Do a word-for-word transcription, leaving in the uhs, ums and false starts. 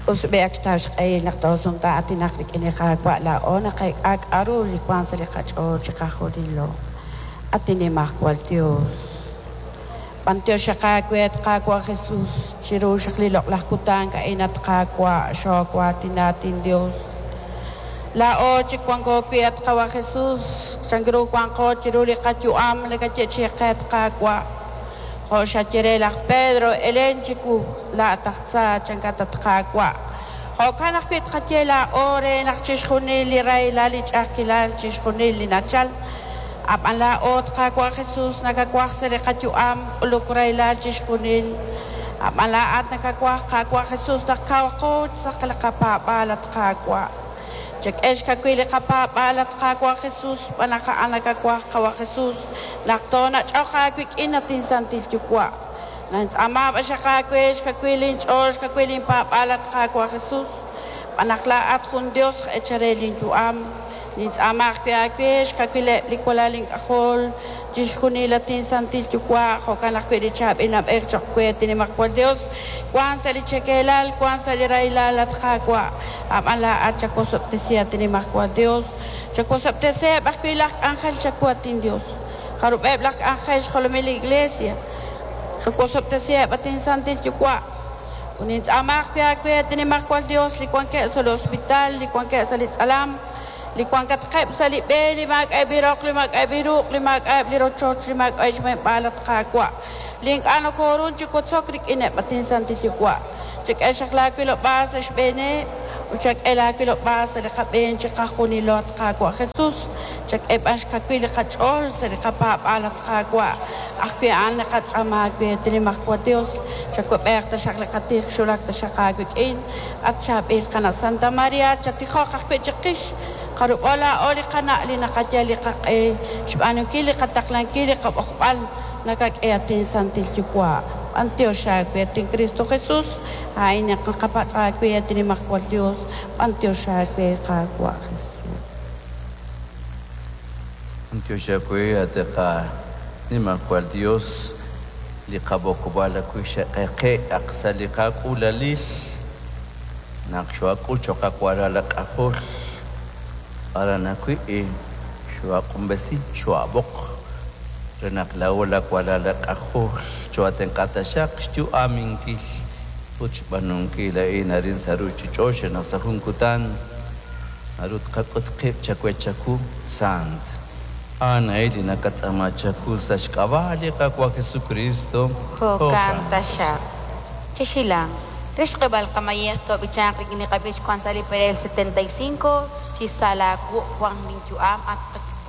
Us b'ihaq xtaw xq'ehil naq toosumtaa'atinaq rik'in li Qaawa' laa'o naqeek'a k'a'ru li wank sa' li qach'ool chiqajunilo. At Nimajwal Dios, b'antiox aawe at Qaawa' Jesus chiru xaq li loq'laj kutan a'in at Qaawa' xoowaatinatin Dios. Laa'o chik wanko wi' at Qawa' Jesus chank ru wanqo chiru li qayu'am li kayeechi'i qe at Qaawa'. Jo' xaye re laj Pedro, elen chiwu laa'at aj tza chankat at Qaawa'. Jo'kan ajwi' tqaye laa'o re naq chixjunil li rahilal li ch'a'ajkilal chixjunil li nachal ab'an laa'o at Qaawa' Jesus nakawaj sa' li qayu'am k'uluk rahilal chixjunil. Ab'an laa'at nakawaj Qaawa' Jesus naq kawaqo sa' li qapaab'aal at Qaawa'. Chak'e xkawil li qapaab'aal at Qaawa' Jesus xb'aan naq a'an nakawaj Qawa' Jesus naq toonach'oq aawik'in at insantil Yuwa'. Nintz'aama b'axaq aawe xkawil inch'ool xkawil inpaab'aal at Qaawa' Jesus xb'aan naq laa'at jun Dios echare linyu'am. Nintz'aama ajwi' aawe xkawileb' li walal ink'ajol chixjunil at insantil Yuwa' jo'kan ajwi' li chaab'il nab'ej cho'q we at Nimajwal Dios wank sa' li chekeelal wank sa' li rahilal at Qaawa' ab'an laa'at chawosob'tesi at Nimajwal Dios chawosob'tesiheb' ajwi' laj k'anjel chawu at inDios jarub'eb' laj k'anjel xjolomil li Iglesia chawosob'tesiheb' at insantil Yuwa' ut nintz'aama ajwi' aawe at Nimajwal Dios li wankeb' sa' li hospital li wankeb' sa' li tz'alam li wankatqeb' sa' li b'e li maak'a'eb' li roq li maak'a'eb' li ruq' li maak'a'eb' li rochoch li maak'a'eb' xmuheb'aal at Qaawa' li ink'a' nokoorun chi wotzok rik'ineb' at insantil Yuwa' chak'e xaq laawilob'aal sa' xb'eeneb' ut chak'e laawilob'aal sa' li qab'een chiqajunilo at Qaawa' Jesus chak'e b'an xkawil li qach'ool sa' li qapaab'aal at Qaawa' ajwi' a'an li qatz'aama aawe at Nimajwal Dios chawab'eq taxaq li qatij xulak taxaq aawik'in at chaab'il qana' Santa Maria chatijoq ajwi' chiqix qarub'o laa'o li qana' li naqayal li qaq'e xb'aanunkil li qataqlankil li qab'oqb'al nakak'e at insantil Yuwa' b'antiox aawe at in Cristo Jesus a'in naq naqapatz' aawe at Nimajwal Dios b'antiox aawe Qaawa' Jesus. B'antiox aawe at Nimajwal Dios li qab'oqb'al ajwi' xeq'eqe aq sa' li qak'uulalil naq xoak'ul cho'q awalal ak'ajol aran ajwi' xoaq'unb'esi xoab'oq re naq laa'o lawalal ak'ajol choatenq'ataxaq xyu'aminkil ut xb'aanunkil a'in arin sa' ruchich'och' naq sa' jun kutan naru tqak'ut qib' chawe chaku sant a'an a'in li nakatz'aama chaku sa' xk'ab'a' li Qaawa' Jesucristo. Jo'kan taxaq. Chixilang. Re xq'eb'al qamayej toob'ichanq rik'in li qab'ich wank sa' li perel setenta y cinco chi sa' laawu' wank linyu'am at